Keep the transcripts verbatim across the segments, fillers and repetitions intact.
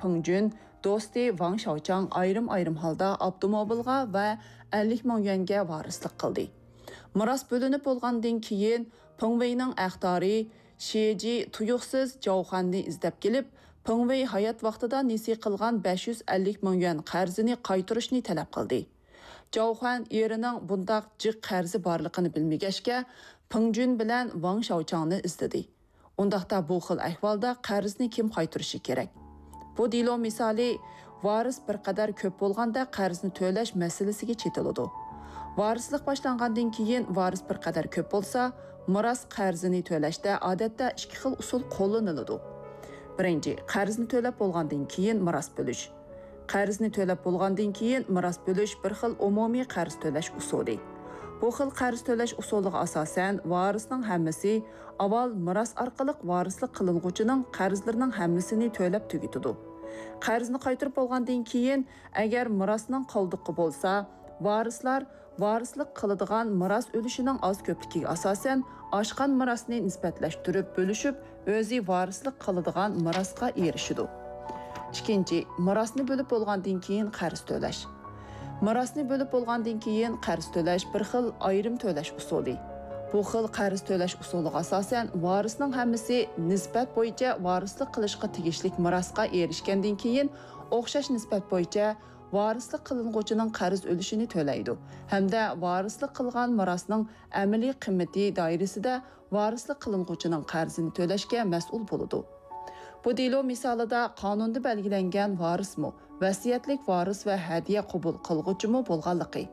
پېڭ جۈن، دوستى ۋاڭ شياۋچاڭ ئايرىم-ئايرىم ھالدا ئاپتوموبىلغا ۋە ئەللىك مىڭ يۈەنگە ۋارىسلىق قىلدى. مىراس بۆلۈنۈپ بولغاندىن كېيىن، پېڭ ۋېينىڭ ئەختارى شىجى تۇيۇقسىز جاۋخەننى ئىزدەپ كېلىپ، پېڭ ۋېي ھايات ۋاقتىدا نېسى قىلغان بەش يۈز ئەللىك مىڭ يۈەن قەرزىنى قايتۇرۇشنى تەلەپ قىلدى. جاۋخەن ئېرىنىڭ بۇنداق جىق قەرزى بارلىقىنى بىلمىگەچكە، پېڭ جۈن بىلەن ۋاڭ شياۋچاڭنى ئىزدىدى. ئۇنداقتا بۇ خىل ئەھۋالدا قەرزنى كىم قايتۇرۇشى كېرەك؟ بۇ دېلو مىسالى ۋارىس بىر قەدەر كۆپ بولغاندا قەرزنى تۆلەش مەسىلىسىگە چېتىلىدۇ. ۋارىسلىق باشلانغاندىن كېيىن ۋارىس بىر قەدەر كۆپ بولسا، مىراس قەرزىنى تۆلەشتە ئادەتتە ئىككى خىل ئۇسۇل قوللىنىلىدۇ. بىرىنچى، قەرزنى تۆلەپ بولغاندىن كېيىن مىراس بۆلۈش. قەرزنى تۆلەپ بولغاندىن كېيىن مىراس بۆلۈش بىر خىل ئومۇمىي قەرز تۆلەش ئۇسۇلى. بۇ خىل قەرز تۆلەش ئۇسۇلىغا ئاساسەن، ۋارىسنىڭ ھەممىسى ئاۋۋال مىراس ئارقىلىق ۋارىسلىق قىلىنغۇچىنىڭ قەرزلىرىنىڭ ھەممىسىنى تۆلەپ تۈگىتىدۇ. قەرزنى قايتۇرۇپ بولغاندىن كېيىن، ئەگەر مىراسنىڭ قالدۇقى بولسا، ۋارىسلار ۋارىسلىق قىلىدىغان مىراس ئۈلۈشىنىڭ ئاز-كۆپلۈكىگە ئاساسەن، ئاشقان مىراسنى نىسبەتلەشتۈرۈپ بۆلۈشۈپ، ئۆزى ۋارىسلىق قىلىدىغان مىراسقا ئېرىشىدۇ. ئىككىنچى، مىراسنى بۆلۈپ بولغاندىن كېيىن قەرز تۆلەش. مىراسنى بۆلۈپ بولغاندىن كېيىن قەرز تۆلەش بىر خىل ئايرىم تۆلەش ئۇسۇلى. بۇ خىل قەرز تۆلەش ئۇسۇلىغا ئاساسەن، ۋارىسنىڭ ھەممىسى نىسبەت بويىچە ۋارىسلىق قىلىشقا تېگىشلىك مىراسقا ئېرىشكەندىن كېيىن، ئوخشاش نىسبەت بويىچە ۋارىسلىق قىلىنغۇچىنىڭ قەرز ئۈلۈشىنى تۆلەيدۇ ھەمدە ۋارىسلىق قىلغان مىراسنىڭ ئەمەلىي قىممىتى دائىرىسىدە ۋارىسلىق قىلىنغۇچىنىڭ قەرزىنى تۆلەشكە مەسئۇل بولىدۇ. بۇ دېلو مىسالىدا قانۇندا بەلگىلەنگەن ۋارىسمۇ، ۋەسىيەتلىك ۋارىس ۋە ھەدىيە قوبۇل قىلغۇچىمۇ بولغانلىقى،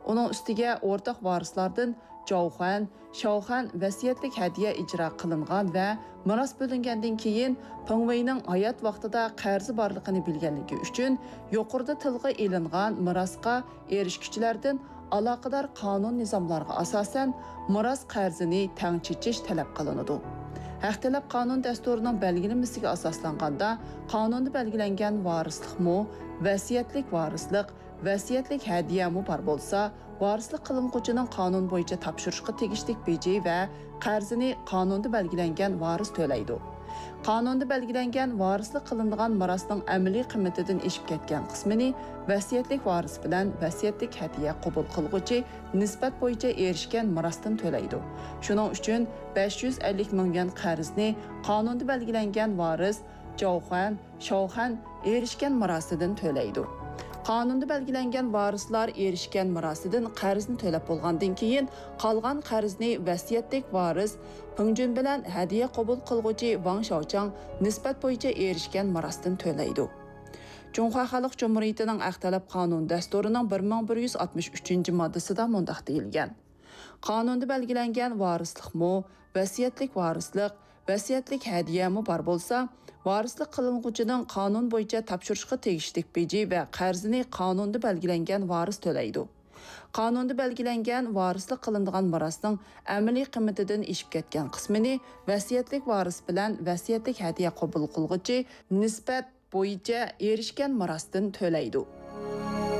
ئۇنىڭ ئۈستىگە ئورتاق ۋارىسلاردىن جاۋخەن، شاۋخەن ۋەسىيەتلىك ھەدىيە ئىجرا قىلىنغان ۋە مىراس بۆلۈنگەندىن كېيىن پېڭ ۋېينىڭ ھايات ۋاقتىدا قەرزى بارلىقىنى بىلگەنلىكى ئۈچۈن، يۇقىرىدا تىلغا ئېلىنغان مىراسقا ئېرىشكۈچىلەردىن ئالاقىدار قانۇن نىزاملارغا ئاساسەن، مىراس قەرزىنى تەڭ چېچىش تەلەپ قىلىنىدۇ. ھەق تەلەپ قانۇن دەستۇرىنىڭ بەلگىلىمىسىگە ئاساسلانغاندا، قانۇندا بەلگىلەنگەن ۋارىسلىقمۇ، ۋەسىيەتلىك ۋارىسلىق، ۋەسىيەتلىك ھەدىيەمۇ بار بولسا، ۋارىسلىق قىلىنغۇچىنىڭ قانۇن بويىچە تاپشۇرۇشقا تېگىشلىك بېجى ۋە قەرزىنى قانۇندا بەلگىلەنگەن ۋارىس تۆلەيدۇ. قانۇندا بەلگىلەنگەن ۋارىسلىق قىلىنىدىغان مىراسنىڭ ئەمەلىي قىممىتىدىن ئېشىپ كەتكەن قىسمىنى ۋەسىيەتلىك ۋارىس بىلەن ۋەسىيەتلىك ھەدىيە قوبۇل قىلغۇچى نىسبەت بويىچە ئېرىشكەن مىراستىن تۆلەيدۇ. شۇنىڭ ئۈچۈن بەش يۈز ئەللىك مىڭ يۈەن قەرزنى قانۇندا بەلگىلەنگەن ۋارىس جاۋخەن، شاۋخەن ئېرىشكەن مىراسىدىن تۆلەيدۇ. قانۇندا بەلگىلەنگەن ۋارىسلار ئېرىشكەن مىراسىدىن قەرزنى تۆلەپ بولغاندىن كېيىن، قالغان قەرزنى ۋەسىيەتلىك ۋارىس پېڭ جۈن بىلەن ھەدىيە قوبۇل قىلغۇچى ۋاڭ شياۋچاڭ نىسبەت بويىچە ئېرىشكەن مىراستىن تۆلەيدۇ. جۇڭخۇا خەلق جۇمھۇرىيىتىنىڭ ھەق تەلەپ قانۇن دەستۇرىنىڭ بىر مىڭ بىر يۈز ئاتمىش ئۈچىنچى ماددىسىدا مۇنداق دېيىلگەن: قانۇندا بەلگىلەنگەن ۋارىسلىقمۇ، ۋەسىيەتلىك ۋارىسلىق، ۋەسىيەتلىك ھەدىيەمۇ بار بولسا، ۋارىسلىق قىلىنغۇچىنىڭ قانۇن بويىچە تاپشۇرۇشقا تېگىشلىك بېجى ۋە قەرزىنى قانۇندا بەلگىلەنگەن ۋارىس تۆلەيدۇ. قانۇندا بەلگىلەنگەن ۋارىسلىق قىلىنىدىغان مىراسنىڭ ئەمەلىي قىممىتىدىن ئېشىپ كەتكەن قىسمىنى ۋەسىيەتلىك ۋارىس بىلەن ۋەسىيەتلىك ھەدىيە قوبۇل قىلغۇچى نىسبەت بويىچە ئېرىشكەن مىراستىن تۆلەيدۇ.